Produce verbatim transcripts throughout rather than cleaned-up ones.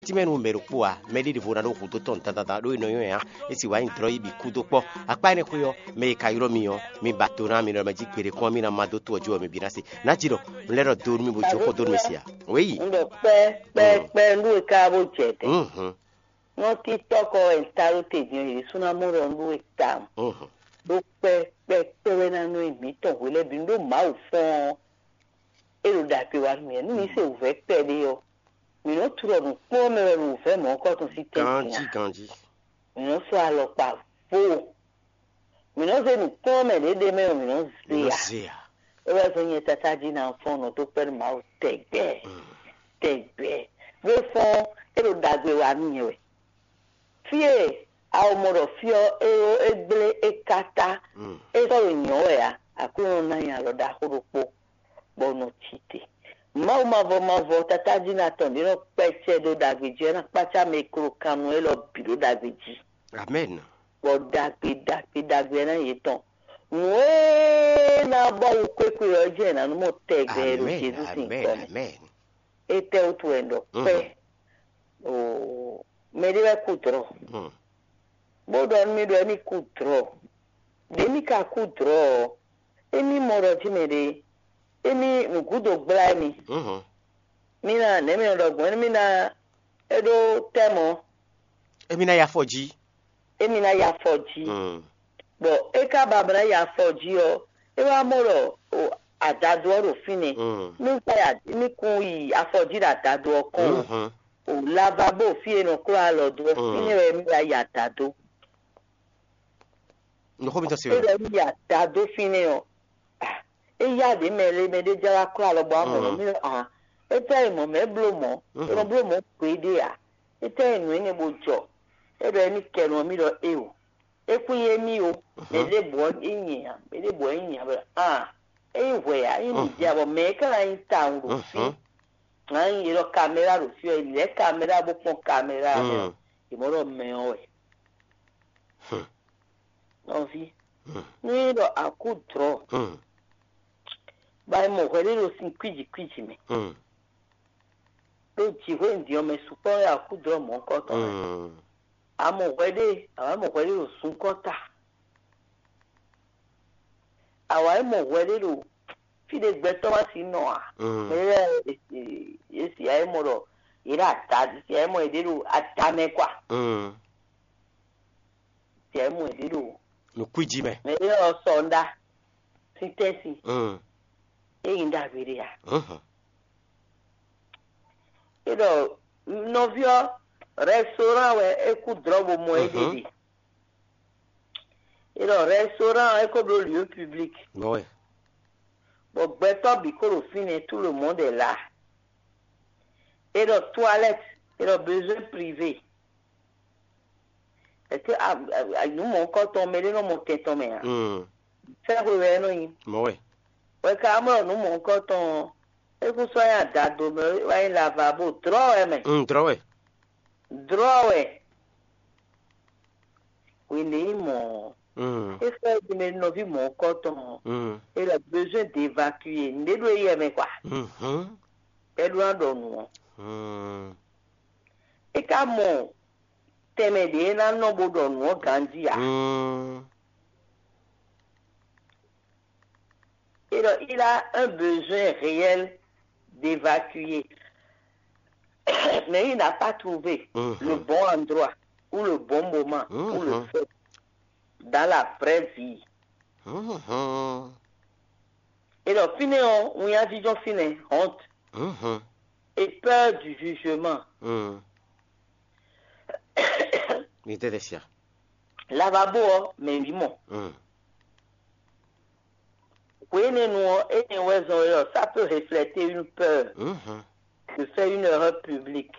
tínmɛ nú mɛ ɖokpó ǎ, mɛɖé ɖěvo ná ɖó hudó tɔn dandandan ɖó è nɔ nywɛ́ ǎ. É sì wá nyí dlɔ́ yí bǐ kú dó kpɔ́. Akpá énɛ́ xwé ɔ́, mɛ e ka ylɔ́ mi ɔ́, mi ba do ná mi nɔ mɛ jí gbeɖé kɔn ɔ́, mì ná má dó to ɔ́ jí wɛ mi bǐ ná se. Nǎ jí ɖɔ un lɛ́ ɖɔ do nú mi bó jó xó dó nú mi se ǎ. Wěyi. Un ɖɔ kpɛ́ kpɛ́ kpɛ́ nú e ka bó jɛ tɛn. Mhm. Nɔ TikTɔk ɔ́ wɛ un ta ɖó te din ɔ́, yě ɖésú ná mɔ ɖɔ un ɖó we tawun. Mhm. Ɖó kpɛ́ kpɛ́ kpɛ́ wɛ ná nɔ nyi mǐtɔn hwe lɛ́ɛ bǐ. Un ɖó Mawu fɔ́n ɔ́, é ɖo ɖagbe wa nú mì. Nú mi se wǔvɛ́ kpɛɖé ɔ́, mǐ nɔ́ tlɔ nǔkplɔ́nmɛ wɛ ɖo wǔvɛ́ mɔ̌hunkɔtɔn sín tɛ́ntin ǎ. Ganjí, ganjí. Mǐ nɔ́ sɔ́ alɔkpa vo. Mǐ nɔ́ zé nǔkplɔ́nmɛ ɖě ɖ'é mɛ ɔ́, mǐ nɔ́ zé ǎ. Zé ǎ. É wɛ zɔ́n nyɛ tátájí ná fɔ́n nɔ dó kpɛ́ nú Mawu tɛgbɛ. Tɛgbɛ. Ɖó é fɔ́n, é ɖo ɖagbe wa nú nyɛ wɛ. Fí e a ko mɔ ɖɔ fí ɔ́, é ɖó é gblé é káká, é sɔ́ ɖo nyɔ̌ wɛ ǎ. Aklúnɔ ná nyi alɔ ɖaxó ɖokpó, bɔ un nɔ cí te. Mawu mavɔ mavɔ tatájí ná tɔn ɖě nɔ kpɛ́ acɛ ɖó ɖagbe jí, é ná kpácá mɛ e klo kan nú élɔ́ bǐ ɖó ɖagbe jí. Amɛn. Bɔ ɖagbe ɖagbe ɖagbe ná nyí yětɔn. Nǔ e ná bɔ wú kwékwe ɔ́ jɛ ná nú mɔ tɛgbɛ ɖo Jezu sín tɔn mɛ. Amɛn. Étɛ́ wútu wɛ un ɖɔ kpɛ́? Oo, mɛɖé wɛ kú dlɔ̌, bó ɖɔ nú mì ɖɔ émí kú dlɔ̌. Ɖě mì ka kú dlɔ̌ ɔ́, émí mɔ ɖɔ jí mɛɖé, émí nǔgúdo gbla émí. Mí ná nɛ̌ mì nɔ ɖɔ gbɔn, émí ná é ɖó tɛ́ mɔ̌. Émí ná yi afɔ jí. Émí ná yi afɔ jí. Bɔ é ka ba bɔ ná yi afɔ jí ɔ́, é wá mɔ ɖɔ o adado ɔ́ ɖo fínɛ́. Mí ka ya mí kún yi afɔ jí ɖo adado ɔ́ kɔn o. O lavabo fí e nɔ klɔ́ alɔ dó ɔ́, fínɛ́ wɛ mí wá yi adado. Nǔxó mitɔn se É wɛ. Ɖɔ mí yi adado fínɛ́ ɔ́, ah, é yá ɖě mɛ lé mɛ ɖé jɛ wá klɔ́ alɔ bɔ amɔ nɔ mí ɖɔ ah, é tɛ́ e mɔ̌ mɛ bló mɔ̌, é nɔ bló mɔ̌ gbeɖé ǎ. É tɛ́ e nǔ énɛ́ bo jɔ. É ɖɔ émí kɛ nɔ mí ɖɔ éo. É kún nyí émí o, mɛ ɖěbǔ ɔ́ é nyi ǎ, mɛ ɖěbǔ ɔ́ é nyi ǎ bɔ ah, é nyí hwɛ ǎ, é nyí mǐdɛɛ bɔ mɛ é ka ná nyí tawun ɖo fí. Ná nyí è ɖɔ kaméra ɖo fí ɔ́, è lɛ̌ kaméra bó kpɔ́n kaméra mɛ ɔ́, è mɔ ɖɔ mɛ ɔ́ wɛ. Nɔví, nú é ɖɔ a kú dlɔ̌, bɔ a yi mɔ hwɛɖéɖo sin kwíji kwíji mɛ, ɖó jǐxwé din ɔ́ mɛ sukpɔ́ wɛ a kú dlɔ̌ mɔ̌hunkɔtɔn mɛ. A mɔ hwɛɖé, a wǎ mɔ hwɛɖéɖo sunkɔ́ta. A wǎ yi mɔ hwɛɖéɖo fí ɖé gbɛtɔ́ wá sí nɔ ǎ. Mɛ lɛ́ɛ e si a yi mɔ ɖɔ yě ɖo ada, si a yi mɔ yě ɖo ada mɛ kwa. Si a yi mɔ yě ɖo Nǔkwíjí mɛ. Mɛ ɖé ɔ́ sɔ ŋɖá sín tɛ́nsin. Mm. É nyí ɖagbe ɖé a? Mhm. É ɖɔ nɔví ɔ́, restaurant wɛ é kú drɔ̌ bó mɔ é ɖe Mhm. ɖe. É ɖɔ restaurant ɔ́, é ko bló lieu public. Bɔ wɛ. Bɔ gbɛtɔ́ bǐ ko ɖo fínɛ́, tout le monde est là. É ɖɔ toilette, é ɖɔ besoin privé. Est-ce que a, a, a, nǔ mɔ̌hunkɔtɔn mɛ ɖé nɔ mɔ tɛn tɔn mɛ ǎ? Mm. Fɛ́ hwe wɛ é nɔ nyí. Mɔ̌ wɛ. Wɛ ka mɔ nǔ mɔ̌hunkɔtɔn ɔ́, é kún sɔ́ nyí adado mɛ, é wá nyí lavabo, drɔ̌ wɛ mɛ. Mm, drɔ̌ wɛ. Drɔ̌ wɛ. Hwenu e nyí mɔ̌ ɔ́, Mm. é fɛ́ din mɛ nɔví mɔ̌hunkɔtɔn ɔ́, Mm. é ɖɔ besoin d'évacuer, nǔɖé ɖo éyɛ́ mɛ kwa. Mhm. Bɛ́ ɖó ná ɖɔ nǔ ɔ́. Mm. É ka mɔ tɛnmɛ ɖě é ná nɔ bó ɖɔ nǔ ɔ́ ganjí ǎ. Mm. Et donc, il a un besoin réel d'évacuer. Mais il n'a pas trouvé Mhm. le bon endroit ou le bon moment pour le Mhm. faire dans la vraie vie. Mhm. Et donc, fine, on y a dit, fine, honte Mhm. et peur du jugement. Mhm. Ní tɛ́ tɛ sia. Lavabo ɔ́, mɛ wǐ mɔ. Mm. Hwenɛ́nu ɔ́, énɛ́ wɛ zɔn é ɔ́, ça peut refléter une peur Mhm. de faire une erreur publique,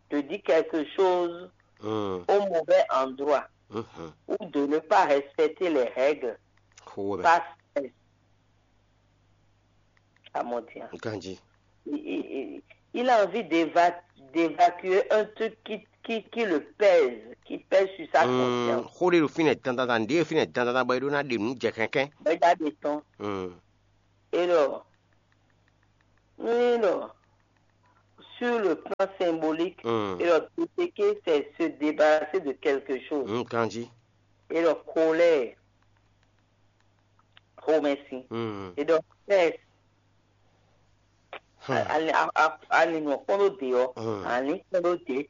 de dire quelque chose Mm. au mauvais endroit Mhm. ou de ne pas respecter les règles Xo wɛ mɛ. Parce que à mon dire. Ganji. Il, il, il a envie d'éva- d'évacuer un truc qui, qui, qui le pèse, qui pèse sur sa Mm, conscience. Xó ɖé ɖo fínɛ́ dandandan, ɖě ɖo fínɛ́ dandandan bɔ é ɖó ná ɖe nǔ jɛ kɛnkɛn. Bɛ́ ɖa ɖe tɔn. Mm. Et alors, oui, alors, Sur le plan symbolique, mm, et leur détecter, c'est se débarrasser de quelque chose. Mm, Kanji. Et leur colère, remercie. Mm. Et leur stress, hmm, ali nɔ kpɔ́n ɖó dě ɔ́, hmm, ali kpɔ́n ɖó dě.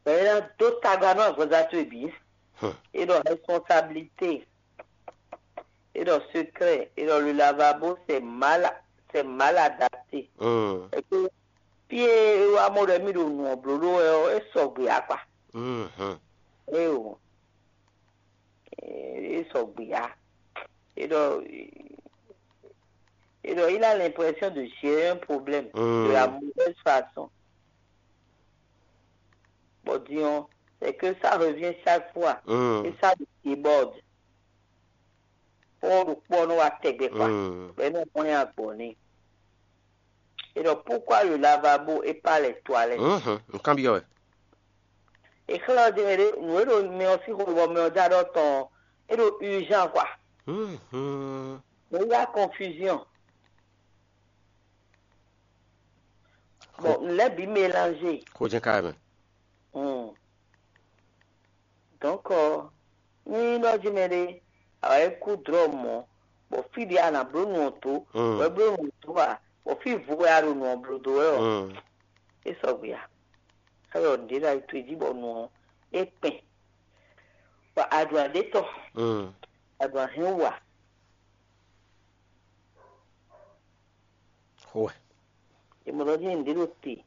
Bɛ̌ ná dó tagba nú agɔza towe bǐ. Hmm. Et leur responsabilité, et leur secret, et leur le lavabo, c'est mal, c'est mal adapté. Mm. Et que fie e wa mɔ ɖɔ mì ɖo nǔ ɔ́ bló ɖó wɛ ɔ́, é sɔgbe ǎ kpa. Mhm. Éyo, é sɔgbe ǎ. Et donc, et donc, il a l'impression de gérer un problème, mm, de la mauvaise façon. Bon, disons, c'est que ça revient chaque fois, mm, et ça déborde. Pɔ́ ɖokpó ɔ́ nɔ wá tɛgbɛ kpa, mm, bɔ é nɔ hwlɛ́n agbɔ̌ n'i. Et donc, pourquoi le lavabo et pas les toilettes? Mhm, nǔkanbyɔ́ wɛ. Exlɛ́ ɔ́ din ɖé nǔ e ɖo mɛ ɔ́ sín xo bɔ mɛ ɔ́ dó aɖɔ tɔn ɔ́, é ɖo urgent quoi. Mhm. Mo yá confusion. Bon, nǔ lɛ́ɛ bǐ mélangé. Xó jɛ́n ká wɛ mɛ. Hmm. Donc, ɔ́, ní ɖɔ jí mɛ ɖé, a wǎ yi kú dlɔ̌ mɔ̌, bɔ fí ɖě a nǎ bló nǔ ɔ́ dó, mm, wɛ bló nǔ ɔ́ dó a, bɔ fí vo wɛ a ɖo nǔ ɔ́ bló dó wɛ ɔ́, mm, é sɔgbe a? Xá ɖɔ nǔɖé ɖo ayi towe jí bɔ nǔ ɔ́ é kpɛn, bɔ a ɖu aɖétɔ́, mm, a ɖu ahɛn wa. Xó wɛ. È mɔ ɖɔ jí nǔɖé ɖo te,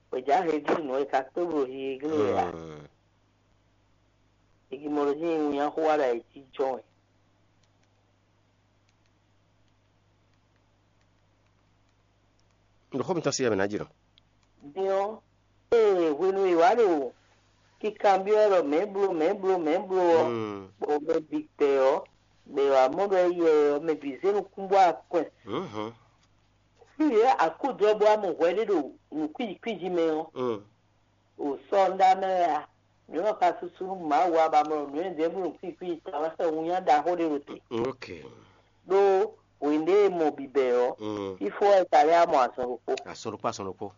bɔ è jǎ he glínu ɔ́, è ka kpé blo hi e glínu wɛ a? Hmm. È mɔ ɖɔ jí winnyá xó wa ɖo ayǐjínjɔ́n wɛ. Ɖo xó mitɔn sí wɛ mǐ ná jǐ nɔ. Din ɔ́, ee hwenu e è wǎ ɖo kikanbyɔ́ wɛ ɖɔ mɛ̌ bló, mɛ̌ bló, mɛ̌ bló ɔ́, hmm, bɔ mɛ bǐ gbɛ ɔ́, gbɛ ɔ́, amɔ̌ ɖɔ éyɛ́ ɔ́, mɛ bǐ zé nukún bɔ akwɛ́n. Mhm. Fí e akúdɔ́bú amɔ hwɛ ɖé ɖo nǔkwíji kwíji mɛ ɔ́, mm, o sɔ́ ɔ́ ɖa mɛ wɛ a? Mǐ nɔ ka susu nú Mawu a ba mɔ nǔ e ɖěbǔ nǔkwíji kwíji ta wɛ xɛ winnyá ɖaxó ɖé ɖo te. Mm, ok. Ɖó hwěɖé e mɔ bǐbɛ́ ɔ́, mm, fífó wɛ ka lɛ́ amɔ azɔn ɖokpó. Azɔn ɖokpó, azɔn ɖokpó.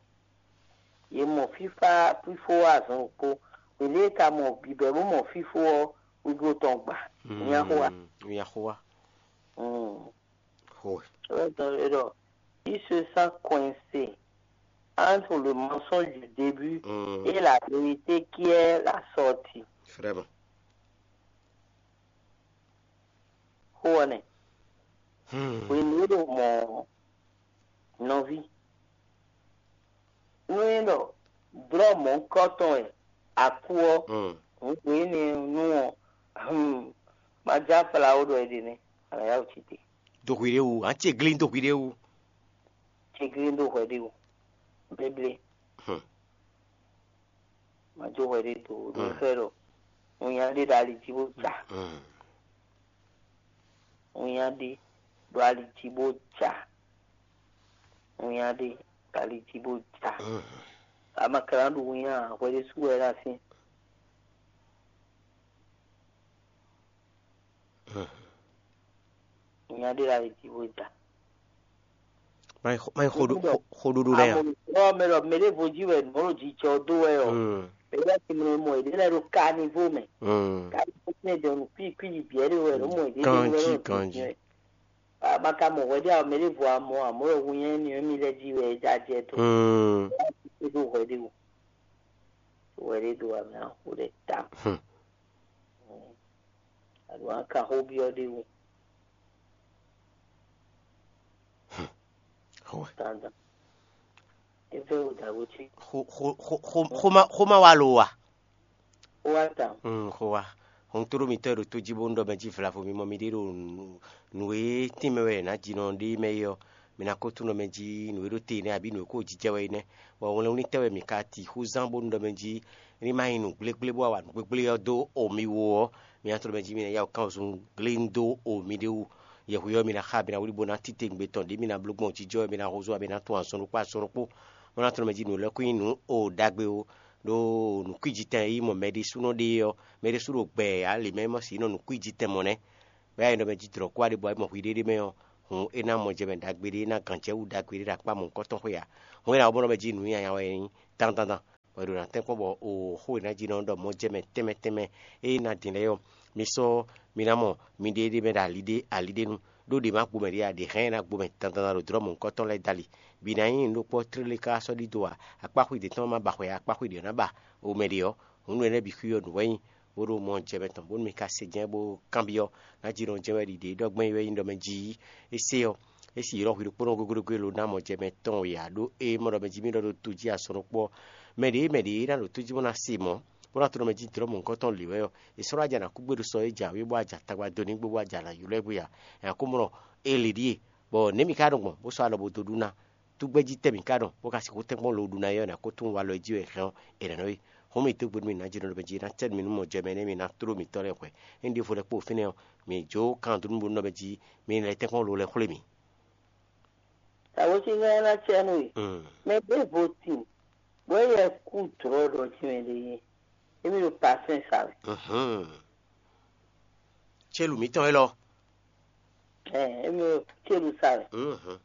Yě mɔ fífá fífó wɛ azɔn ɖokpó. Hwěɖé e ka mɔ bǐbɛ́ bó mɔ fífó ɔ́, wíwú tɔn gba. Mm, winnyá xó wa. Winnyá xó wa. Mm. Xó wɛ. Wɛ tɔn ɖɔ, il se sent coincé entre le mensonge du début, mm, et la vérité qui est la sortie. Vraiment. Xó ɔ́ nɛ́. Hmm. Hwenu e ɖo mɔ nɔví, nú é ɖɔ dlɔ́ mɔ̌hunkɔtɔn wɛ a kú ɔ́, hmm, hǔn hwě énɛ́ nú ɔ́, hmm, ma já fla ó ɖɔ é ɖe nɛ́, a nǎ yá wǔ cí te. Do hwi ɖé wú, ǎ ce glín do hwi ɖé wú. Ce glín do hwɛ ɖé wú. Bléblé. Hmm. Ma jó hwɛ ɖé do ɖo, mm, xɛ ɖɔ winnyá ɖé ɖo ali jí bó ja. Mm. Winnyá ɖé ɖo ali jí bó ja. Winnyá ɖé ɖo ali jí bó ja. Mm. Amaklá ɖo winnyá hwɛ ɖé sú wɛ ɖo así. Nya ɖé la yi jí bó ja. Má nyí xo- má nyí xoɖo- Ɖɔ xo- xoɖuɖu lɛ́ɛ a? Amɔ̌ mɛ ɖɔ mɛ ɖěvo jí wɛ nǔ ɖo jijɔ dó wɛ ɔ. Mm, Mɛ ɖé ti mlɔ mɔ èɖé lɛ́ɛ ɖo kánivo mɛ. Mm. Kánivo tɛn dɔ nǔ kwíkwí yi bǐ ɛɖé wɛ ɖo mɔ èɖé Ganjí, ɖo wɛ ganjí. Maka mɔ hwɛ ɖé a mɛ ɖěvo amɔ amɔ̌ wɛ hu nyɛ ni mi lɛ́ jí wɛ jajɛ dó. Mm. Ɖó hwɛ ɖé o. Hwɛ ɖé do amɛ axo ɖɛ ta. Hmm. Alo aka xó byɔ́ ɖé wú. Xó wɛ. Dandan. É fẹ́ wò dàgbò tí. Xó xó xó xó xó ma xó ma wá lo wa. Ó wá ta. Mm, xó wa. Hɔn tó ɖó mitɔ́ e ɖo tó jí bó ń ɖɔ mɛ jí vlavo mi mɔ mi ɖé ɖo nǔ- nǔ e tínmɛ wɛ è nǎ jinɔ ɖé mɛ é ɔ́, mi ná ko túnɔ mɛ jí nǔ e ɖó te nɛ́ abǐ nǔ e ko jijɛ wɛ é nɛ́. Bɔ wlɛnwlítɛ́ wɛ mi ka ti xú zán bónú ɖɔ mɛ jí ní ma nyí nǔ gblégblé bó wá wa nǔ gblégblé ɔ́ dó o mi wú ɔ́, mi ná tlɔ́ mɛ jí mi ná yá wǔ kán wǔzun glé dó o mi ɖé wú. Yɛhweyɔ́ mi ná xa mi ná wlí bó ná títewungbe tɔn ɖě mi ná bló gbɔn jijɔ wɛ mi ná húzú wɛ mi ná tún azɔn ɖokpó azɔn ɖokpó. Bó ná tlɔ́ mɛ jí nǔ lɛ́ kún nyí nǔ o ɖagbe ó. Ɖó nǔkwíji tɛn e yí mɔ mɛ ɖésúnɔ ɖe é ɔ́, mɛ ɖésú ɖo gbɛ ǎ lě mɛ e mɔ sǐ nɔ nǔkwíji tɛn mɔ nɛ́. Bɔ é nyí ɖɔ mɛ jí dlɔ̌ kú wá ɖe bɔ é mɔ hwi ɖéɖé mɛ ɔ́, hǔn é ná mɔjɛmɛ ɖagbe ɖé, é ná gǎnjɛwú ɖagbe ɖé ɖo akpá mɔ̌hunkɔtɔn xwé ǎ. Hǔn é ná ɔ́, bó nɔ mɛ jí nǔ nyanya wɛ é nyí dandandan. Bɔ è ɖo ná tɛ́nkpɔ́n bɔ o xó e ná jí nɔ ɖɔ mɔjɛmɛ tɛnmɛ tɛnmɛ e ná din lɛ́ɛ ɔ́, mi sɔ́ mi ná mɔ miɖée ɖé mɛ ɖo ali ɖé ali ɖé nu, ɖó ɖě ma gbo mɛ ɖě ǎ, ɖě hɛn ná gbo mɛ dandandan ɖo dlɔ̌ mɔ̌hunkɔtɔn lɛ́ɛ dali. Bǐ ná nyí nǔɖokpɔ́ tlélé ká sɔ́ ɖidó ǎ, akpá xwé ɖě tɔn ma ba xwɛ ǎ, akpá xwé ɖě ɔ́ ná ba o mɛ ɖě ɔ́, hǔn nǔ énɛ́ bǐ xwí ɔ́ nǔ wɛ nyí. Bó ɖo mɔ jɛ mɛ tɔn bónú mi ka se jɛ́n bó kanbyɔ́ ná jí nɔ jɛ́n wɛ ɖiɖe ɖɔ gbɛ́n wɛ nyí ɖɔ mɛ jí é se ɔ́, é sì ylɔ́ hwi ɖokpónɔ gúgúɖugú e lo ná mɔ jɛ mɛ tɔn e ǎ ɖó é mɔ ɖɔ mɛ jí mì ɖɔ ɖo to jí asɔn ɖokpó ɔ́, mɛ ɖě mɛ ɖě ná ɖo tó jí bó ná se mɔ̌, bó ná to ɖɔ mɛ jí dlɔ̌ mɔ̌hunkɔtɔn lǐ wɛ ɔ́, è sɔ́ ɖó aja ná kú gbé ɖo sɔ é jǎwe bó aja tagba dó ní gbé bó aja ná ylɔ́ ɛ bó ya. Nya kó mɔ ɔ́, é lě ɖíe, bɔ nɛ̌ mi ka ɖo gbɔn bó sɔ́ alɔ bó dó ɖu ná? Tú gbɛ́ jí tɛ́ mǐ ka ɖɔ bó ka sixú tɛ́nkpɔ́n lo ɖu ná é ɔ́, nɛ̌ kó tunwun walɔ e jí wɛ è hɛn ɔ́, è nǎ nɔ é. Hɔn mì dó gbe nú mì nǎ jɛ nɔ ɖɔ mɛ jí ná cɛ́ nú mì nú mɔ jɛ mɛ nɛ́ mi ná tló mǐtɔn lɛ́ɛ hwɛ̌. Ényí ɖěvo lɛ́ kpo fínɛ́ ɔ́, mǐ jó kan dó nú bó nɔ mɛ jí mi lɛ́ tɛ́nkpɔ́n lo lɛ́ xwlé mì. Tawǒsíngán ná cɛ́ nú we. Mm. Mɛ ɖěvo tin, bɔ é yɛ kú dlɔ̌ ɖɔ jí mɛ ɖé yé. Émí ɖo pasɛn sa wɛ. Mhm. Célu mǐtɔn élɔ́. Ɛ, émí ɖo célu sa wɛ. Mhm.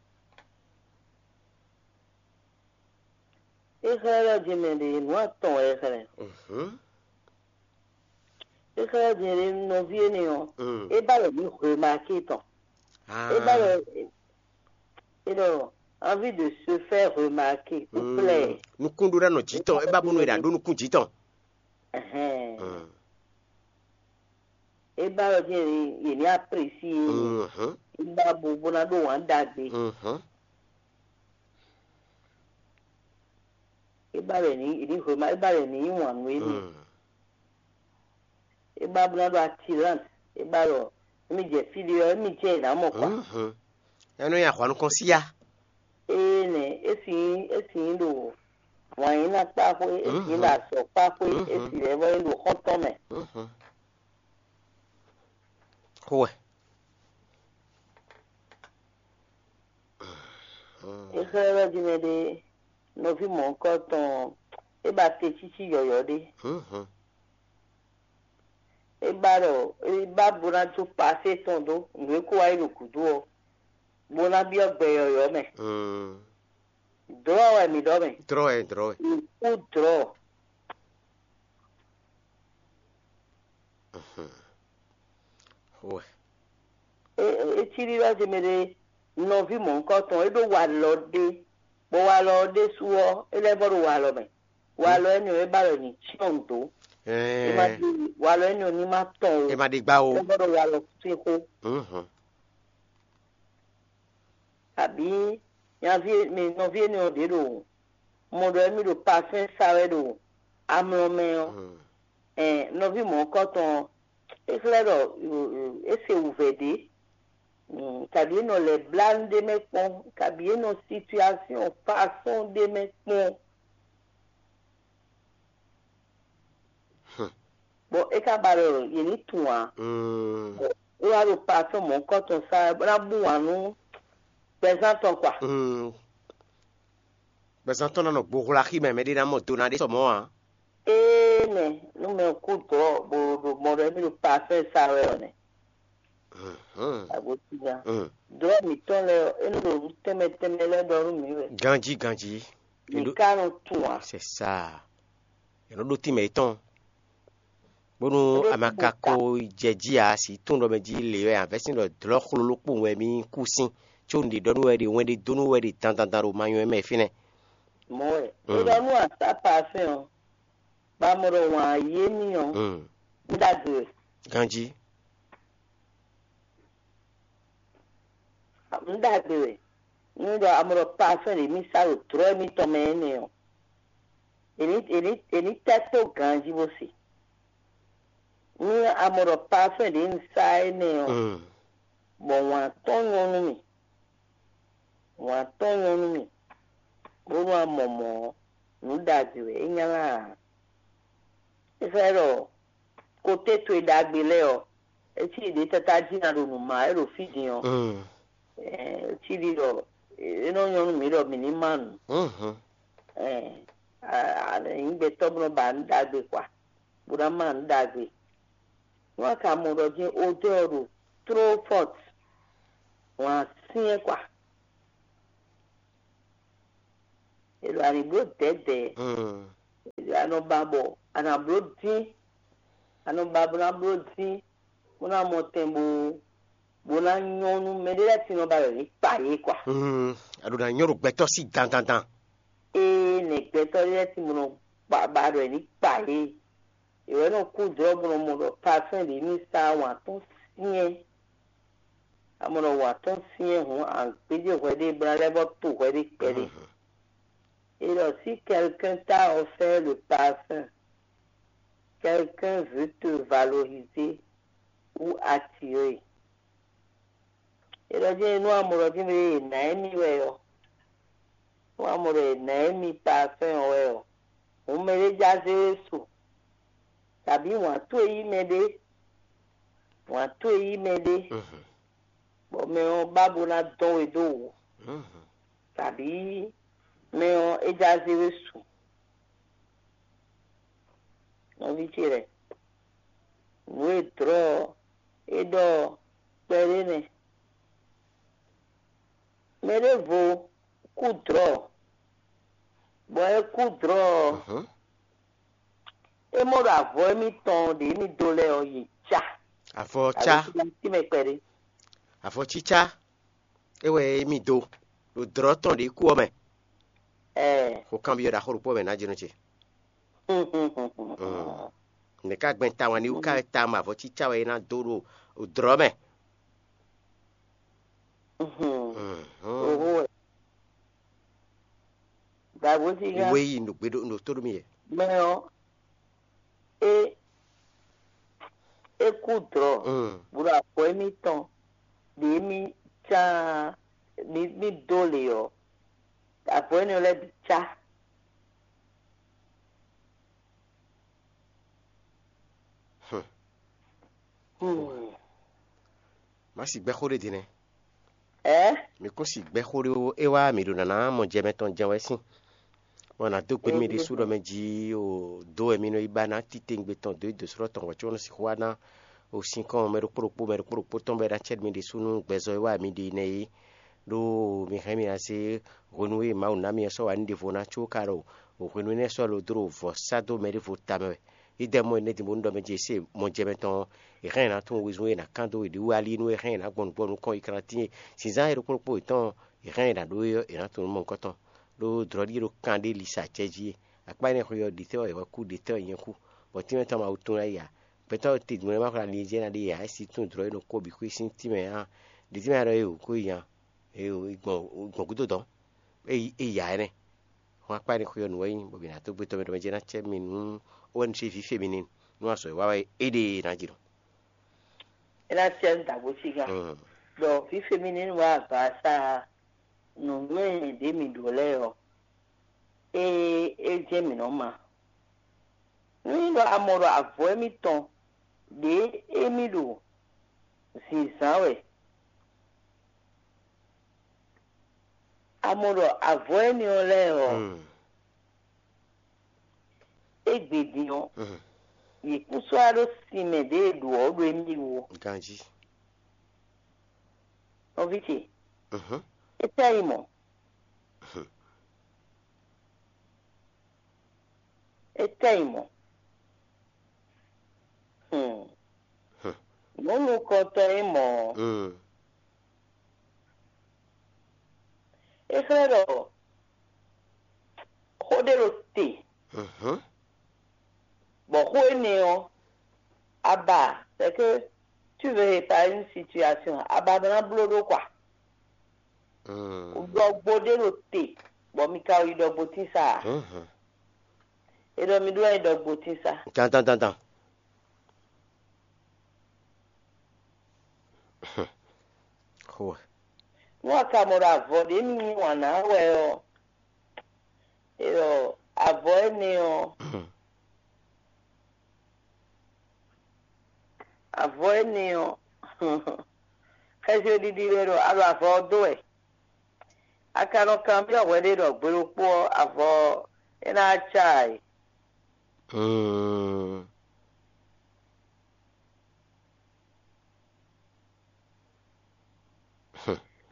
É xlɛ́ ɖɔ jí mɛ ɖé nǔ atɔn wɛ é xlɛ́. Mhm. É xlɛ́ ɖɔ jí mɛ ɖé nɔví énɛ́ ɔ́, Mm. É ba lɔ mǐ hwe maké tɔn. Ah. É ba lɔ é ɖɔ envie de se faire remarquer ou plaire. Nukún ɖó ɖa nɔ jǐ tɔn, é ba bónú è ɖa ɖó nukún jǐ tɔn. Ɛhɛn. Mm. É ba lɔ jí yě ní apprécier. Mhm. É ba bo bó ná ɖó wǎn ɖagbe. Mhm. É ba lɔ ní yě ní hwe ma é ba lɔ ní yí wǎn nú émí. Mm. É ba bó ná ɖó attirante. É ba lɔ émí jɛ fí ɖé ɔ́ émí jɛ yě ná mɔ kɔ́. Mhm. Ɛnú ya hwanu kɔn síya. Ée nɛ é sì nyí é sì nyí ɖo wǎn yí ná kpá xwé, é sì nyí ɖo azɔ̌ kpá xwé, é sì lɛ́ vɔ nyí ɖo xɔ́ntɔn mɛ. Mhm. Xó wɛ. É xlɛ́ ɖɔ jí mɛ ɖé nɔví mɔ̌hunkɔtɔn ɔ́, é ba te cící yɔ̌yɔ́ ɖé. Mhm. É ba ɖɔ é ba bó ná jó pasé tɔn dó nǔ e kó wá yi ɖo gǔdo ɔ́, bó ná byɔ́ gbɛ yɔ̌yɔ́ mɛ. Mm. Dlɔ̌ wɛ mǐ ɖɔ mɛ. Dlɔ̌ wɛ, dlɔ̌ wɛ. Mǐ kú dlɔ̌. Mhm. Xó wɛ. É é cí ɖiɖɔ ce mɛ ɖé nɔví mɔ̌hunkɔtɔn é ɖó walɔ ɖé, bɔ walɔ ɔ́ ɖésú ɔ́ é lɛ́ vɔ ɖo walɔ mɛ. Walɔ énɛ́ ɔ́ é ba lɔ nyi cyɔ́n dó. É ma ɖi walɔ énɛ́ ɔ́ ní ma tɔn o. É ma ɖi gbá o. É vɔ ɖo walɔ sín xó. Mhm. Abǐ nyaví mi nɔví énɛ́ ɔ́ ɖě ɖo mɔ ɖɔ émí ɖo pasɛ́n sa wɛ ɖo amlɔ mɛ ɔ́, ɛn nɔví mɔ̌hunkɔtɔn ɔ́, é xlɛ́ ɖɔ é se wǔvɛ́ ɖé, kabǐ é nɔ lɛ̌ blá nú ɖé mɛ kpɔ́n, kabǐ é nɔ situasiɔn fasɔ́n ɖé mɛ kpɔ́n. Bɔ é ka ba ɖɔ yě ní tunwun ǎ. Bɔ é wá ɖo pasɔ́n mɔ̌hunkɔtɔn sa wɛ bó ná bú wǎn nú gbɛzán tɔn kpa. Gbɛzán tɔn ná nɔ gbohwla xí mɛ mɛɖé ná mɔ do ná ɖé sɔ mɔ̌ ǎ. Ee nɛ nú mɛ kú dɔ̌ bó ɖo mɔ ɖɔ émí ɖo pasɔ́n e sa wɛ ɔ́ nɛ. Agotínya. Dɔ̌ mǐtɔn lɛ́ɛ ɔ́, é nɔ ɖo nǔ tɛnmɛ tɛnmɛ lɛ́ɛ ɖɔ nú mǐ wɛ. Ganjí ganjí. Mǐ ka nɔ tunwun ǎ. C'est ça. È nɔ ɖó tínmɛ yětɔn. Bónú a ma ka ko jɛ jí ǎ, si tún ɖɔ mɛ jí lě wɛ avɛ́sín ɖɔ dlɔ̌ xlolo kpowun wɛ mì kú sín, có un ɖe ɖɔ nú wɛ ɖe wɛn ɖé dó nú wɛ ɖe dandandan ɖo ma nywɛ́ mɛ fínɛ́. Mɔ̌ wɛ. Mm. È ɖɔ nú asá parfɛn ɔ́, bɔ a mɔ ɖɔ wǎn yé mì ɔ́, Mm. Un ɖagbe wɛ. Ganjí. Un ɖagbe wɛ. Nú ɖɔ a mɔ ɖɔ parfɛn ɖě mì sá ɖo dlɔ̌ émítɔn mɛ énɛ́ ɔ́, è ní è ní è ní tɛ́ tó ganjí bó se. Nú a mɔ ɖɔ parfɛn ɖě un sá énɛ́ ɔ́, Mm. bɔ wǎn tɔn nyɔ́ nú mì, wǎn tɔn nyɔ́ nú mì, bónú a mɔ mɔ̌ ɔ́, nǔ ɖagbe wɛ é nylá ǎ. É xlɛ́ ɖɔ koté towe ɖagbe lɛ́ɛ ɔ́, é cí ɖě tátájí ná ɖo nǔ má wɛ ɖo fí din ɔ́, Mm. é cí ɖi ɖɔ é nɔ nyɔ́ nú mǐ ɖɔ mǐ ní má nǔ. Mhm. Ɛɛ, a- a- nyǐgbɛtɔ́ bó nɔ ba nǔ ɖagbe kpa, bó ná má nǔ ɖagbe. Nú a ka mɔ ɖɔ jɛ́n odɛ́ ɔ́ ɖo tló fɔ́t, wǎn syɛ́n kwa. È ɖo a nǐ bló dɛ̌dɛ̌, è ɖo a nɔ ba bɔ a nǎ bló dín, a nɔ ba bó ná bló dín, bó ná mɔ tɛn bó bó ná nyɔ́ nú mɛɖé lɛ́ɛ sin nɔ ba ɖɔ yě kpa yě kwa. A ɖo ná nyɔ́ ɖo gbɛtɔ́ sí dandandan. Ee, nɛ gbɛtɔ́ lɛ́ɛ sin bó nɔ ba ba ɖɔ yě ní kpa yě. È wɛ nɔ kú dlɔ̌ bó nɔ mɔ ɖɔ parfɛn ɖě ní sa wǎn tɔn syɛ́n. A mɔ ɖɔ wǎn tɔn syɛ́n hǔn, a gbéjé hwɛ ɖé bó ná lɛ́ vɔ́ to hwɛ ɖé kpɛɖé. Et alors, si quelqu'un t'a offert le parfum, quelqu'un veut te valoriser ou attirer. Et alors, je nous amoro din be na emi wɛ yo. Nous amoro na emi parfum wɛ yo. Hǔn mɛɖé já zé we su. Tàbí wǎn towe yí mɛɖé. Wǎn towe yí mɛɖé. Bɔ mɛ ɔ́ ba bó ná dɔn we dó wǔ. Tàbí mɛ ɔ́ é já zé we su. Nɔví ce lɛ́ɛ, nǔ e dlɔ̌ ɔ́ é ɖɔ ɔ́, kpɛɖé nɛ́. Mɛ ɖěvo kú dlɔ̌, bɔ é kú dlɔ̌ ɔ́, é mɔ ɖo avɔ émítɔn ɖě émí dó lɛ́ɛ ɔ́, yě cá. Avɔ cá. Tínmɛ kpɛɖé. Avɔ cícá. É wɛ émí dó ɖo dlɔ̌ tɔn ɖě kú ɔ́ mɛ. Xo kanbyɔ́ ɖaxó ɖokpó mɛ ná jínɔ ce. Nɛ̌ ká gbɛn tawun ní wú ká wɛ tawun avɔ cícá wɛ é ná dó ɖo dlɔ̌ mɛ? Oho wɛ. Dàgbò sí gán. Wé yi ɖo gbe ɖo tó ɖo mì yɛ. Mɛ ɔ́, é é kú dlɔ̌, bó ɖo avɔ émítɔn ɖě mí cán mí mí dó lě ɔ́, avɔ énɛ́ lɛ́ɛ bǐ cá. Hmm. Má sì gbɛ́ xó ɖé din nɛ́. Ɛ? Mi kún sì gbɛ́ xó ɖé ó, é wá mǐ ɖo nǎná mɔ jɛ mɛtɔn jɛ́n wɛ sín. Bɔ nǎ dó gbe nú mì ɖésú ɖɔ mɛ jí o dó wɛ mi nɔ yi ba ná titewungbe tɔn dó yi dǒsrɔ́ tɔn hwɛ̌ có nɔ sixú wá ná o sinkɔn mɛ ɖokpó ɖokpó mɛ ɖokpó ɖokpó tɔn bɔ é ná cɛ nú mi ɖésú nú gbɛzɔ́ e wá mi ɖe nɛ́ é. Ɖó mi hɛn mì ná zé hwenu e Mawu ná mi ɔ́ sɔ́ wǎ nú ɖěvo ná có ka ɖo hwenu énɛ́ sɔ́ lo dó ɖo vɔ̌ sá dó mɛ ɖěvo tamɛ wɛ. Yi dɛ mɔ énɛ́ din bónú ɖɔ mɛ ce se mɔ jɛ mɛ tɔn ɔ́, è hɛn è nǎ tunwun wezun e è nǎ kán dó yěɖée wú alí nú é hɛn è nǎ gbɔn nǔgbó nukɔn yi kan tíin. Sinzán e ɖokpó ɖokpó yětɔn ɔ́, è hɛn è nǎ ɖó é ɔ́, è nǎ tunwun nú mɔ̌hunkɔtɔn. Ɖó dlɔ̌ɖíe ɖo kan ɖé li sa acɛ jí é. Akpá énɛ́ xwe ɔ́, ɖětɛ́ wɛ è wɛ kú, ɖětɛ́ wɛ nyɛ kú. Bɔ tínmɛ tɔn ma wú tún ná yi ǎ. Gbɛtɔ́ te dun lɛ́ɛ ma xwlá linlin jɛ ná ɖe ǎ, é sí tún dlɔ̌ e nɔ kó bǐ xwé sín tínmɛ ǎ. Ɖě tínmɛ ɖɔ é wǔ kó yi nya. É gbɔn gbɔn gúdo dɔn. É yi é yi ǎ énɛ́. Hɔn akpá énɛ́ xwe ɔ́ nǔ wɛ nyí, bɔ mǐ ná dó gbé tɔn mɛ ɖɔ mɛ jɛ ná cɛ mì nú ó wɛ nu ce vǐ fe mi n'i nú azɔ̌ e wa wɛ é ɖe ná ji nɔ. É ná cɛ nú dǎgbó cígán. Ɖɔ fífé mi ní wá agba sa nǔnywɛ́ ɖě mǐ ɖǒ lɛ́ɛ ɔ́, é é jɛ́n mǐ nɔ́ ma. Nú nyí ɖɔ a mɔ ɖɔ avɔ émítɔn ɖě émí ɖo zǐnzán wɛ, a mɔ ɖɔ avɔ énɛ́ ɔ́ lɛ́ɛ ɔ́, égbé din ɔ́, yě kún sɔ́ wá ɖó sin mɛ ɖě e ɖǒ ɔ́ ɖó émí wú. Ganjí. Nɔví ce, é tɛ́ yi mɔ̌. É tɛ́ yi mɔ̌. Hmm. Nǔ nukɔntɔn nyí mɔ̌. É xlɛ́ ɖɔ xó ɖé ɖo te, bɔ xó énɛ́ ɔ́, a ba, c'est que tu veux réparer une situation, a ba ná bló ɖó kwa. Ɖɔgbo ɖé ɖo te, bɔ mi ka yi ɖɔgbo tín sa a? É ɖɔ mi ɖó wɛ nyí ɖɔgbo tín sa. Dandan dandan. Xo. Nú a ka mɔ ɖɔ avɔ ɖě mi yí wǎn ná wɛ ɔ́, é ɖɔ avɔ énɛ́ ɔ́, avɔ énɛ́ ɔ́, xɛsi ɖiɖi wɛ ɖɔ a ɖo avɔ ɔ́ dó wɛ. A ka nɔ kanbyɔ́ hwɛ ɖé ɖɔ gbe ɖokpó ɔ́, avɔ ɔ́, é ná cá ǎ é. Hmm.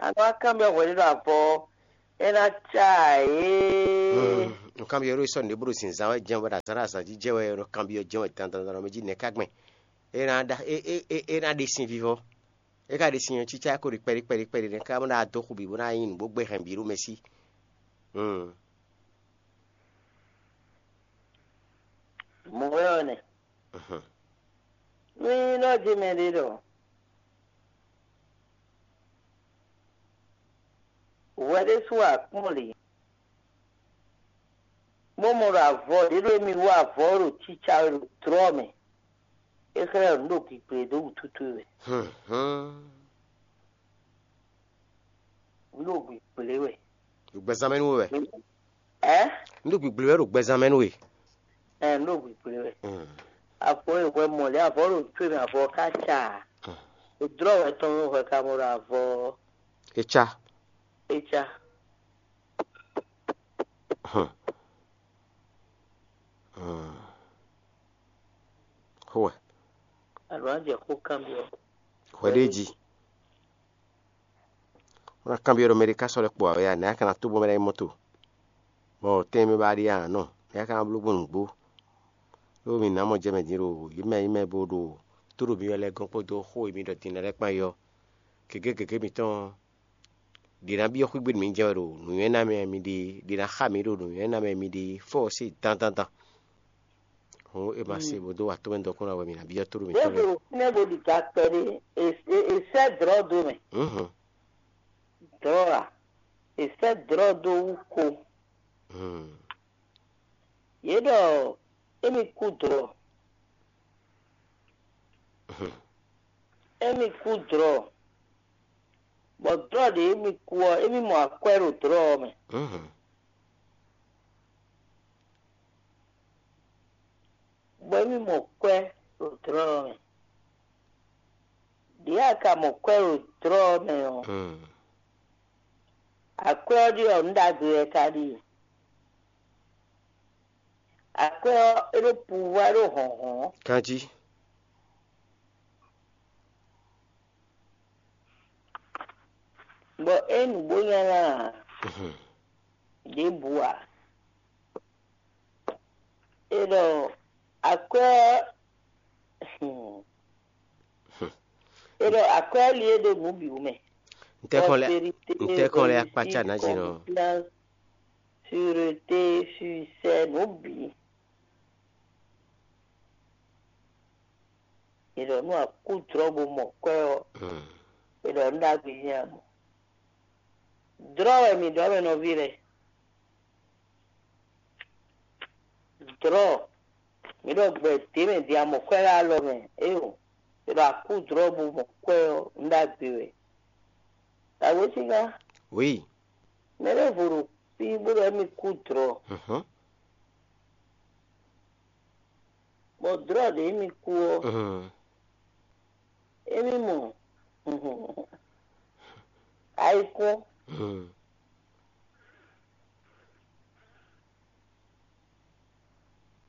A nɔ wá kanbyɔ́ hwɛɖé ɖo avɔ ɔ́, é ná cá ǎ é. Nǔkanbyɔ́ ɖo sɔ́ nǔɖé bó ɖo zǐnzán wɛ jɛ́n wɛ ɖo azǎn ɖo azǎn jí jɛ wɛ, nɔ kanbyɔ́ jɛ́n wɛ dandandan mɛ jí nɛ̌ ká gbɛn? É ná ɖa é é é é ná ɖe sin vivɔ. É ka ɖe sin ɔ́, cícá ko ɖi kpɛɖí kpɛɖí kpɛɖí nɛ́ ká bó ná dó xu bǐ bó ná nyí nǔgbó gbé hɛn bǐ ɖo mɛ sí. Mɔ̌ wɛ ɔ́ nɛ. Nú nyí ɖɔ jí mɛ ɖé ɖɔ hwɛ ɖésú wɛ a kpɔ́n lě, bó mɔ ɖɔ avɔ ɖě ɖo émí wú avɔ ɔ́ ɖo cícá wɛ ɖo dlɔ́ mɛ, é xlɛ́ ɖɔ nǔ ɖo gǐgblé dó wǔtu towe wɛ. Nǔ ɖo gǐgblé wɛ. Ɖo gbɛzán mɛ nú we wɛ. Ɛ? Nǔ ɖo gǐgblé wɛ ɖo gbɛzán mɛ nú we. Ɛ, nǔ ɖo gǐgblé wɛ. Avɔ e hwɛ mɔ lě avɔ ɖo tó e mɛ avɔ ká ca. Dlɔ́ wɛ tɔn hwɛ ka mɔ ɖo avɔ. É cá. É cá. Xó wɛ. Alɔ á jɛ xó kanbyɔ́. Hwɛ ɖé jí. Wọ́n ná kanbyɔ́ ɖɔ mɛ ɖé ká sɔ́ lɛ́ kpo ǎ wɛ a, nɛ̌ a ka ná tó bɔ mɛ ná nyí mɔ́to? Bɔ tɛ́nmɛ mɛ ba ɖi a nɔ, nɛ̌ a ka ná bló gbɔn nǔgbó? Ɖó mǐ ná mɔ jɛ mɛ din ɖo yě mɛ nyí mɛ bo ɖo tó ɖo myɔ lɛ́ɛ gɔ́n kpódó xó e mi ɖɔ din lɛ́ɛ kpán é ɔ́, gěgé gěgé mitɔn ɔ́, ɖě ná byɔ́ xwígbe nú mǐ jɛ wɛ ɖo nǔnywɛ́ ná mɛ mi ɖe, ɖě ná xa mǐ ɖo nǔnywɛ́ ná mɛ mi ɖe fɔ́ ɔ́ se dandandan. Hǔn è ma se bó dó wa tomɛ dɔkun ná wɛ mǐ ná byɔ́ tóɖó mǐtɔn lɛ́ɛ. Ɖěvo fínɛ́ bó ɖi ga kpɛɖé, è sɛ́ dlɔ̌ dó mɛ. Dlɔ̌ a? È sɛ́ dlɔ̌ dó wú ko. Yě ɖɔ émí kú dlɔ̌. Émí kú dlɔ̌. Bɔ dlɔ̌ ɖě émí kú ɔ́, émí mɔ akwɛ́ ɖo dlɔ̌ ɔ́ mɛ. Bɔ émí mɔ kwɛ́ ɖo dlɔ́ ɔ́ mɛ. Ɖěe a ka mɔ kwɛ́ ɖo dlɔ́ ɔ́ mɛ ɔ́, akwɛ́ ɔ́ ɖíe ɔ́, nǔ ɖagbe wɛ ka ɖíe. Akwɛ́ ɔ́, é ɖó puvwá, é ɖó hlɔ̌nhlɔ́n. Ganjí. Bɔ é nǔgbó nyanya ǎ. Ɖěbǔ ǎ. É ɖɔ akwɛ́ ɔ́, é ɖɔ akwɛ́ ɔ́ li é ɖo nǔ bǐ wú mɛ. Ntɛ́kɔn lɛ́, ntɛ́kɔn lɛ́ akpácá nǎ jǐ nɔ. Sûreté, succès, nǔ bǐ. È ɖɔ nú a kú dlɔ́ bó mɔ kwɛ́ ɔ́, è ɖɔ nǔ ɖagbe nyí a mɔ. Dlɔ́ wɛ mǐ ɖɔ mɛ nɔví lɛ́ɛ. Dlɔ́, mǐ ɖɔ gbɛ dě mɛ din a mɔ kwɛ́ ɖo alɔ mɛ, éeǒ, è ɖɔ a kú dlɔ́ bó mɔ kwɛ́ ɔ́, nǔ ɖagbe wɛ. Awěsíngán, oui, mɛ ɖěvo ɖo fí bó ɖɔ émí kú dlɔ́. Bɔ dlɔ̌ ɖě émí kú ɔ́, émí mɔ ayikún.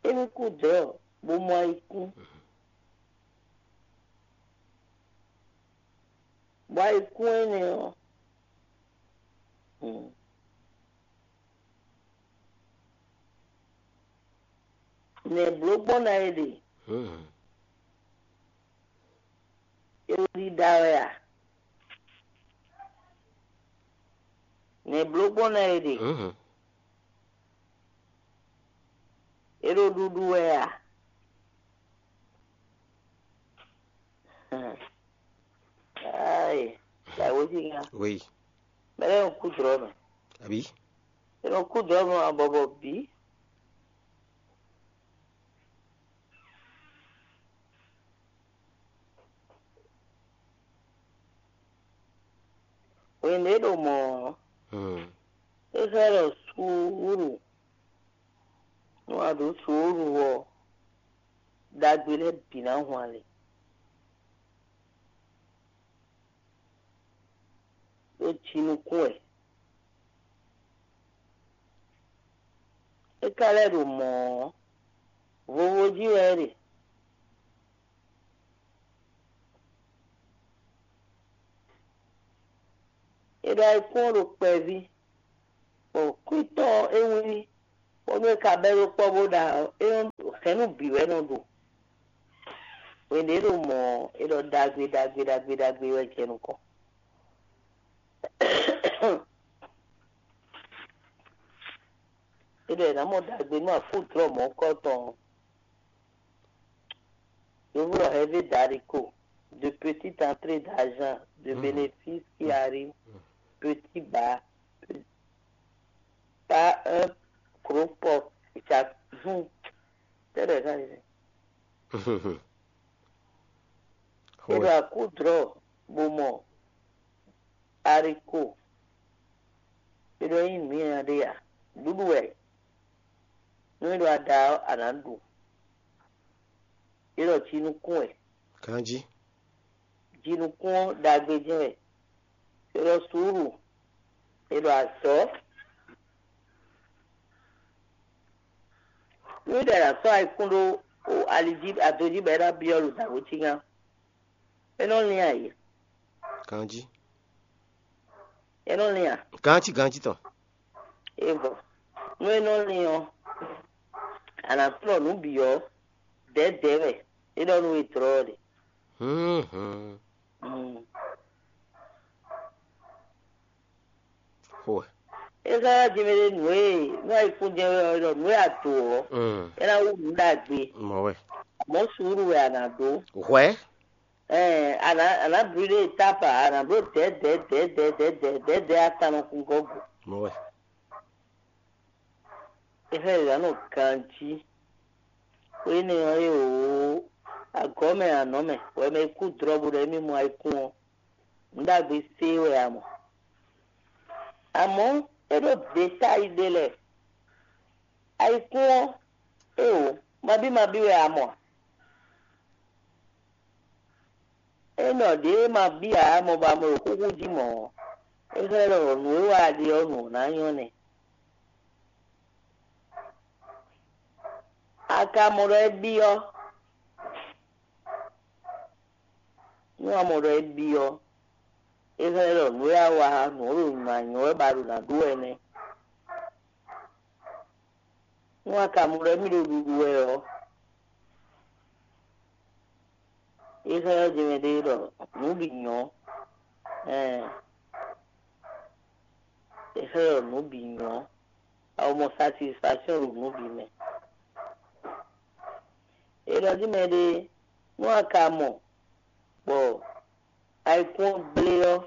Émí kú dlɔ̌ bó mɔ ayikún. Bɔ ayikún énɛ́ ɔ́, nɛ̌ bló gbɔn ná é ɖe? É ɖo ɖiɖa wɛ a? Nɛ̌ bló gbɔn ná é ɖe? É ɖo ɖuɖu wɛ a? Ayi, yàwó sí nya. Oui. Mɛ lɛ nɔ kú jlɔ mɛ. Àbí? Ɛ nɔ kú jlɔ mɛ abɔbɔ bí. Hwenu e ɖo mɔ̌ ɔ́, é xlɛ́ ɖɔ suúlu, nú a ɖǒ suúlu ɔ́, ɖagbe lɛ́ɛ bǐ ná hwan lě. Ɖó jinukún wɛ. É ka lɛ́ ɖo mɔ̌ ɔ́, vovo jí wɛ é ɖe. É Ayikún ɔ́ ɖo kpɛví, bɔ kwítɔ́ ɔ́ é wlí, bónú é ka bɛ́ ɖó kpɔ́ bó ɖa ɔ́, é nɔ hɛ̌nnu bǐ wɛ nɔ ɖo. Hwenu e é ɖo mɔ̌ ɔ́, é ɖɔ ɖagbe ɖagbe ɖagbe ɖagbe wɛ jɛ nukɔn. É ɖɔ è nǎ mɔ ɖagbe nú afúdlɔ́ mɔ̌kɔ́tɔn ɔ́. Yovó ɖɔ heavy d'haricot, de petite entrée d'argent, de bénéfice qui arrive petit bas, par un gros porte chaque jour. Tɛ́ ɖɔ ɛ ká ɖe. É ɖo akúdlɔ́ bó mɔ haricot. É ɖo nyí nǔ nyanya ɖé a? Ɖuɖu wɛ. Nú é ɖo ada ɔ́, a nǎ ɖu. É ɖɔ jinukún wɛ. Ganjí. Jinukún ɔ́ ɖagbe jɛ́n wɛ. É ɖɔ suúlu. É ɖɔ azɔ̌. Nú é ɖɔ è nǎ sɔ́ ayikún ɖó ali jí, ado jí bɔ é ná byɔ́ ɖo dǎwe cí gán. É nɔ lín ayǐ. Ganjí. É nɔ lín a? Ganjí, ganjí tɔn. É vɔ. Nú é nɔ lín ɔ́, a nǎ kplɔ́n nǔ bǐ ɔ́, dɛ̌dɛ̌ wɛ. É ɖɔ nú we dlɔ́ ɔ́ ɖe. Hǔnhún. Mm. Xo wɛ. É sɔ́ ná jɛ mɛ ɖé nǔ e nú ayikún jɛ́n wɛ ɔ́, é ɖɔ nǔ e a do ɔ́, Mm. É ná wú nǔ ɖagbe. Mɔ wɛ. Mɔ̌ suúlu wɛ a nǎ ɖó. Hwɛ. Ɛɛ, a nǎ a nǎ brûlé étape a, a nǎ bló dɛ̌dɛ̌ dɛ̌dɛ̌ dɛ̌dɛ̌ dɛ̌dɛ̌ atannɔkungɔ́ go. Mɔ wɛ. É xlɛ́ ɖě ná nɔ ganjí. Xwé énɛ́ ɔ́ é wǒ, agɔ̌ mɛ anɔ̌ mɛ, wɛ mɛ e kú dlɔ̌ bó ɖɔ émí mɔ ayikún ɔ́, nǔ ɖagbe sé wɛ a mɔ. Amɔ̌, é ɖó ɖětáyi ɖé lɛ́ɛ. Ayikún ɔ́, é wǒ, mabí mabí wɛ a mɔ a? É nɔ ɖě e ma bíá ǎ mɔ ba mɔ ɖo xúxú jí mɔ̌ ɔ́, é xlɛ́ ɖɔ nǔ e wa a ɖe ɔ́ nǔ ɔ́ ná nyɔ́ nɛ́. A ka mɔ ɖɔ é byɔ́? Nú a mɔ ɖɔ é byɔ́, é xlɛ́ ɖɔ nǔ e a wa nǔ ɔ́ ɖo nǔ ná nyɔ́ wɛ ba ɖo nǎ ɖu wɛ nɛ́. Nú a ka mɔ ɖɔ émí ɖo ɖuɖu wɛ ɔ́, é xlɛ́ ɔ́ jɛmɛ ɖé ɖɔ nǔ bǐ nyɔ́. Ɛɛ, é xlɛ́ ɖɔ nǔ bǐ nyɔ́. A ko mɔ satisfaction ɖo nǔ bǐ mɛ. É ɖɔ jí mɛ ɖé, nú a ka mɔ bɔ ayikún ɔ́ gblé ɔ́,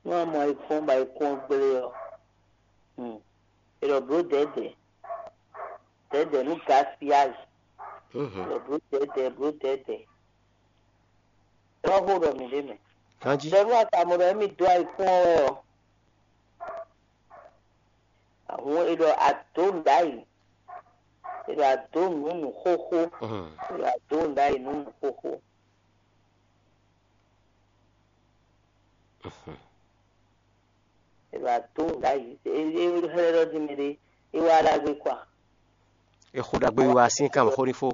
nú a mɔ ayikún ɔ́ bɔ ayikún ɔ́ gblé ɔ́, hmm, è ɖɔ blǒ dɛ̌dɛ̌, dɛ̌dɛ̌ nú gaspillage, è ɖɔ blǒ dɛ̌dɛ̌, blǒ dɛ̌dɛ̌. Ɖɔ xó ɖɔ mǐ ɖ'é mɛ. Ganjí. Ɖɔ nú a ka mɔ ɖɔ émí dó ayikún ɔ́ wɛ ɔ́, ahun è ɖɔ a dǒ nǔ ɖ'ayǐ, è ɖɔ a dǒ nǔ nǔ xóxó, è ɖɔ a dǒ nǔ ɖ'ayǐ nú nǔ xóxó. È ɖɔ a dǒ nǔ ɖ'ayǐ, é é xlɛ́ ɖɔ jí mɛ ɖé, é wá ɖagbe kɔ a? È xo ɖagbe wiwa sín kan xó ní fó.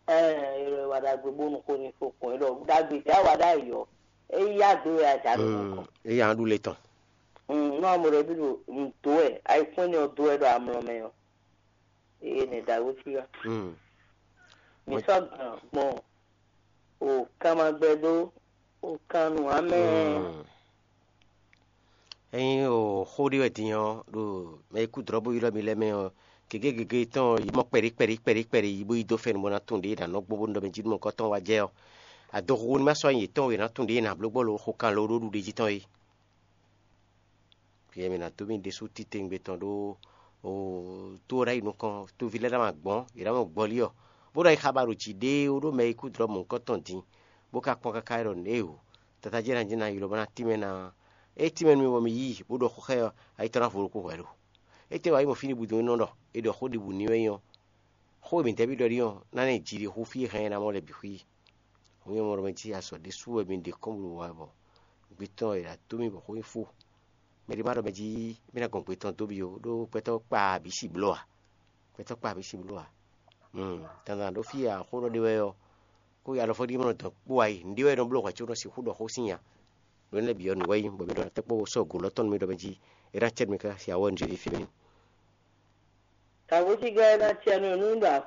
Ɛɛ, è ɖɔ è wá ɖagbe bónú xó ní fó kpɔn, é ɖɔ ɖagbe tɛ a wá ɖ'ayǐ ɔ́, é yí agbe wɛ a jà nú nukɔn. Eya ɖu le tɔn. Nú amɔ ɖɔ bí ɖo nǔ dó wɛ, ayikún énɛ́ ɔ́ dó wɛ ɖo amlɔ mɛ ɔ́, eye nɛ ɖagbe fí wá. Mǐ sɔ́ gǎn gbɔn o kanmagbɛdó o kan nǔ amɛ. Ényí o xó ɖé wɛ din ɔ́, ɖo mɛ e kú dlɔ̌ bó ylɔ́ mi lɛ́ɛ mɛ ɔ́, gěgé gěgé tɔn yi mɔ kpɛɖí kpɛɖí kpɛɖí kpɛɖí yi bó yi dó fɛ́nú bó ná tunwun ɖě è nǎ nɔ gbó bónú ɖɔ mɛ jí nú mɔ̌kɔ́ tɔn wá jɛ ɔ́, adoxuxu ní ma sɔ́ nyi yětɔn e è nǎ tunwun ɖě è nǎ bló gbɔ lo xo kan lo ɖó ɖuɖéjí tɔn é. Yɛ mǐ ná dó mì ɖésú titewungbe tɔn ɖó tó ɔ́ ná yi nukɔn, toví lɛ́ɛ ná ma gbɔn, yě ná mɔ gbɔlí ɔ́, bó ná yi xabaɖu jǐ ɖé ó ɖó mɛ e kú dlɔ̌ mɔ̌hunkɔtɔn din, bó ka kpɔ́n káká ɖɔ nǔ e o tata jɛ́n ná jɛ́n ná ylɔ́ bó ná tínmɛ ná. Ée tínmɛ nú mì bɔ mi yí i, bó ɖɔ xó xá ɛ ɔ́, ayi tɔn ná vo ɖokpó hwɛ̌ lo. Étɛ́ wǎ yi mɔ fí ɖěbǔ din é nɔ ɖɔ è ɖɔ xó ɖěbǔ n'i wɛ nyí ɔ́, xó e mǐ dɛ́ bí ɖɔ ɖíe ɔ́, ná ná yi jiɖixú fí e hɛn ɛ ná mɔ lɛ́ɛ bǐ xwí. Hǔn nyɛ mɔ ɖɔ mɛ jí azɔ̌ ɖésú wɛ mi ɖe kɔ́n bó ɖo wa bɔ gbé tɔn è nǎ dó mì bɔ xó nyí fó. Mɛ ɖé ma ɖɔ mɛ jí mì ná gɔn gbé tɔn dó mi ó, ɖó gbɛtɔ́ kpa bǐ si bló ǎ. Gbɛtɔ́ kpa bǐ si bló ǎ. Dandan ɖó fí e axó nɔ ɖe wɛ ɔ́, kó alɔfɔ́ ɖíe mɔ dɔn kpó wá yi, nǔɖé wɛ nɔ bló hwɛ̌ có nɔ sixú ɖɔ xó sín nya. Nǔ énɛ́ bǐ ɔ́, nǔ wɛ nyí bɔ mi ɖɔ ná tɛ́ kpó sɔ́ gǒ lɔ́ tɔn nú mi ɖɔ mɛ jí é ná cɛ nú mi káká sin awɔ nǔ jí fí mɛ. Kǎgócígá e ná cɛ nú nú ɖo